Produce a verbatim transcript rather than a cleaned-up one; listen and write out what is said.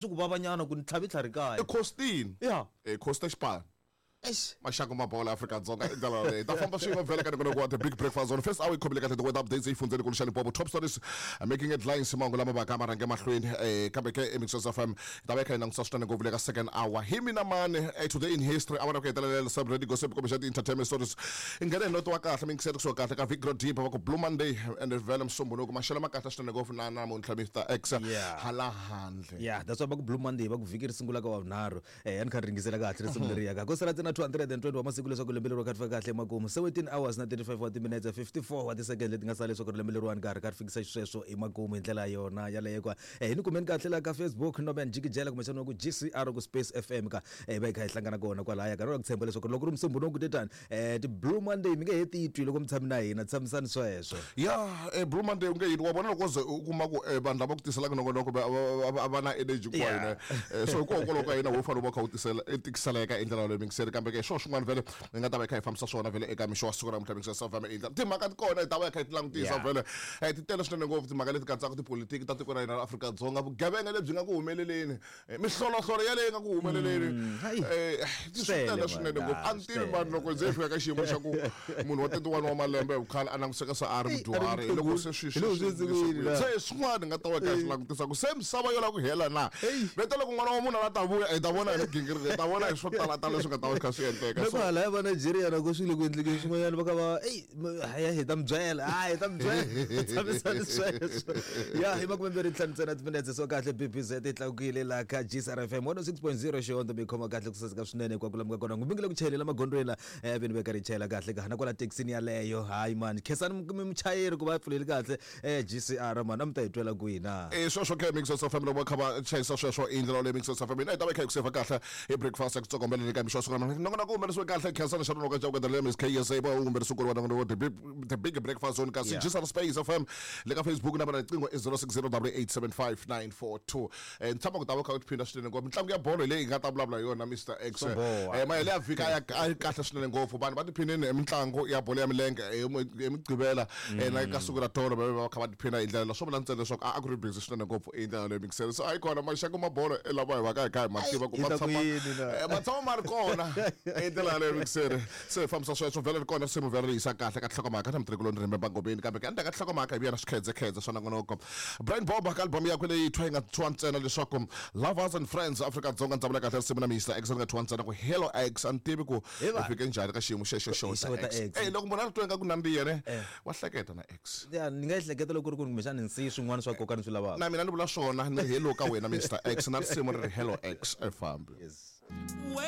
Swi ku vavanyana ku ni tlhavi tlhari kaya. I Costin. Ya. Eh Costa Xipano. Eish. Maxaka ma bola Afrika-Dzonga i ndlela leyi ta famba swin'we vhele ka nongonoko wa The Big Breakfast on first hour yi khomile kahle the weather updates yi fundzeni ku Limpopo Top stories uh, making headlines mahungu lama vaka ma rhange mahlweni eh kambe ke eMixos F M hi ta va hi kha hi langutisa swinene ngopfu le ka second hour hi mina mani eh, today in history awara ku hetelela celebrity gossip kumbe xa ti-entertainment stories i nghene hi noto wa kahle mi yingisele kusuka kahle ka Vigro Deep va ku Blue Monday and vhele Musumbhunuku maxelo ma kahle swinene ngopfu na namuntlha Mister X Yeah. hala handle. Yeah, that's why va ku Blue Monday va ku vhiki ri sungula ka wavunharhu. Eh a ni kha ri ringisela kahle risimu leriya ka. Ko sala ntsena two hundred and twenty wa masiku leswaku lembe leriwa kha ri fika kahle emakumu. seventeen hours na thirty-five wa timinetse fifty-four wa tisecond leti nga sala leswaku lembe leriwani ka ha ri kha ri fikisa xisweswo emakumu hi ndlela yona yaleyo kwa. Eh hi ni kumeni kahle la ka Facebook Norman Jikijela kumbexana ku G C R ku Space F M ka. Eh va hi kha hi hlangana kona kwalaya ka. Ro ku tshemba leswaku loko ri Musumbhunuku tetani eh ti Blue Monday mi nge he titwi loko mi tshami na hina tshamisani sweswo. Ya, eh Blue Monday u nge yini wa vona loko ze u kuma ku eh vanhu lava ku tiselaka nongonoko va va va na energy kwa hina. Yeah. So hikokwalaho ka hina wo fanele u va kha u tisela i tikiseleka hi ndlela leyi mingiseri kambe ke swo swin'wana vhele hi nga ta va hi kha hi fambisa swona vhele eka mixo wa siku ra namuntlha Mixos F M i ndlela timhaka ti kona hi ta va hi kha hi ti langutisa Yeah. vhele eh ti tele swinene ngopfu timhaka leti katsaka tipolitiki ta tiko ra hina ra Afrika-Dzonga vugevenga lebyi nga ku humeleleni eh, mihloloholo yaleyi nga ku humeleleni Mm, hayi. eh swi Swi tele tele, swinene man. ngopfu a ni Swi tivi tele. mani loko nze hi fika ka xiyimo xa ku munhu wa thirty-one wa malembe hi vukhale a langutiseka se a ri Ey, a ri mudyuhari hi loko se swi Hi loko swi swi swi swi se swin'wana hi nga ta va hi kha hi swi langutisa ku se misava yo lava ku hela na vete loko n'wana wa munhu a la ta vuya hi ta vona hi migingiriko hi ta vona hi swo talatala leswi nga ta va swi kha swi endleka Loko so hala ya va Nigeria loko swi le ku endlekeni swin'wanyana va ka va ey haya hi ta mi byela hayi hi ta mi byela tshamisani sweswo ya hi makumembirhi ntlhanu ntsena timinetse so kahle B B Z yi tlakukile laha ka G C R F M one oh six point zero xihondzo mi khoma kahle ku saseka swinene hinkwako laha mi nga kona ngopfu mi nge le ku chayelela magondzweni la eh veni va karhi chayela kahle ka na kwala thekisini yaleyo hayi mani khensani mi muchayeri ku va a pfuleli kahle eh G C R mani a mi ta hi twela kwihi na Eh sweswo ke Mixos F M loko va kha va chayisa sweswo i ndlela leyi Mixos F M hina hi ta va hi kha hi ku seva kahle hi breakfast ya ku tsokombela ka mixo wa siku ra namuntlha nongonoko wu humelerisiwe kahle khensani xa nonoka xa ku endla M S K S A va wu humelerisiwe ku ri wa nongonoko the big the big breakfast zone kasi Yeah. G C R Space F M le ka Facebook na vona riqingho i zero six zero double eight seven five nine four two eh ni tshama ku ta va kha u tiphinda swinene ngopfu mitlangu ya bolo hi leyi hi nga ta vulavula hi yona Mister X Swo boha. eh mahele ya vhiki a ya a yi kahle swinene ngopfu vanhu va tiphinini hi mitlangu ya bolo ya milenge hi mi- hi Mugqivela eh na ka siku ra tolo va va kha va tiphina hi ndlela leyo swo vula ntsena leswaku a a ku ri busy swinene ngopfu hi ndlela leyo mixere so a yi kona maxaka ma bolo i lava hi va ka hi kha hi ma tiva ku Hi ma ta ku tshama yini na? eh, ma tshama ma ri kona hi ndlela yaleyo mixere se hi fambisa sweswo vhele ri kona risimu vhele ri yisa kahle ka nhlokomhaka na mutirhikuloni rimbe bangomeni kambe ke endzhaku ka nhlokomhaka hi vuya na swikhedzekhedze swa nongonoko Brian Bob ka album yakwe leyi thwa yi nga thyiwa ntsena leswaku Lovers and Friends Afrika-Dzonga ndzi vula kahle risimu na Mister X ri nga thyiwa ntsena ku Hello X a ni tivi ku Hi hi va. fike njhani ka xiyimo xexo xo Hi ta xo ta X X. Eh loko munhu a ri twa ingaku nandziha ne Eh. wa hleketa na X ya ni nga ehleketa loko ku ri ku kumbexana ni siyi swin'wana swa nkoka ni swi lavaka na mina ni vula swona ni hello ka wena Mister X na risimu ri ri Hello X e fambi yes Well,